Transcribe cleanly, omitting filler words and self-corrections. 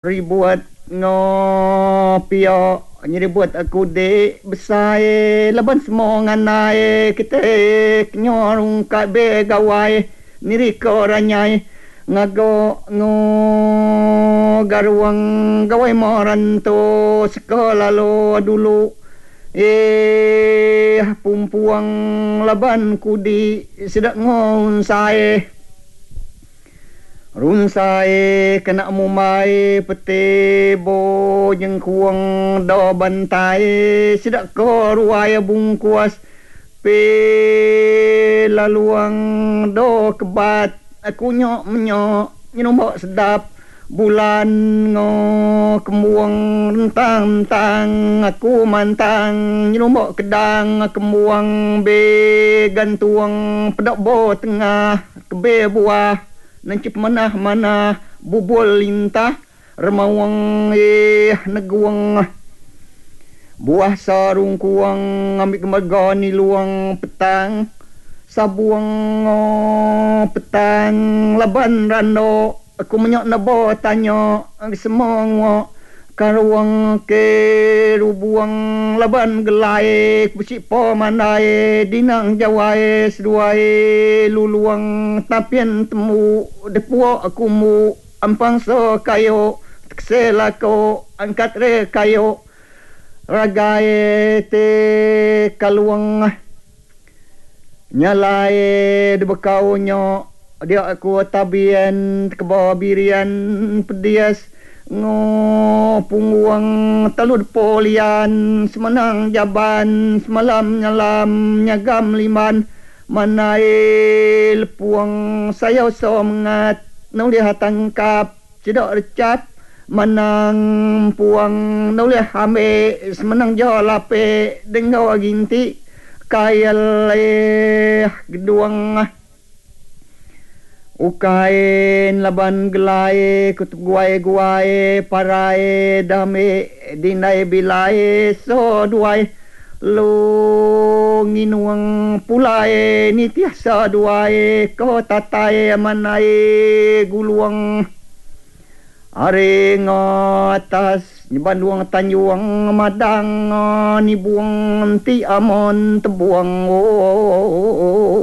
Ribut enggau pia nyeribut aku dik besai laban semua ngandai kitai kenyau rungkat be gawai nirika ranyai ngaga enggau garung gawai merantu seka lalu dulu eeh pumpuang laban kudi sida enggau unsai. Runsai kena mumbai peti bo nyengkuang do bantai sida ko ruai bungkus pi laluang do kebat aku nyo menyo nyenumbok sedap bulan ngo kembuang rentang entang aku mantang nyenumbok kedang kembuang be gantung peda bo tengah. Kebe buah nenchip manah manah bubul lintah remaung ih negung buah sarungkuang ngambi mega nilung petang sabung petang laban rando Aku menya neba tanya semua ngua karung ke rubung laban gelai ke besipa mandai dinang jawai seduai lulung tapin tembu depua kumbu ampang so kayu tekese lako angkat re kayu ragai ti kalung. Nya alai dibekau nya dia aku tabian tekeba birian pedis enggau punggung telu depo lian semenang jaban semalam nyelam nyagam limban manai lepung sayau semengat nulih tangkap sida recap menang puang nulih ambi semenang ja lapi denggau ginti kail eh gedung ukai laban gelai ku teguai guai parai dami dindai bilai so duai lu nginung pulai nitih seduai ko tatai manai gulung ari enggau atas nyebandung tanjung madang nibung enti amon tebung ooh.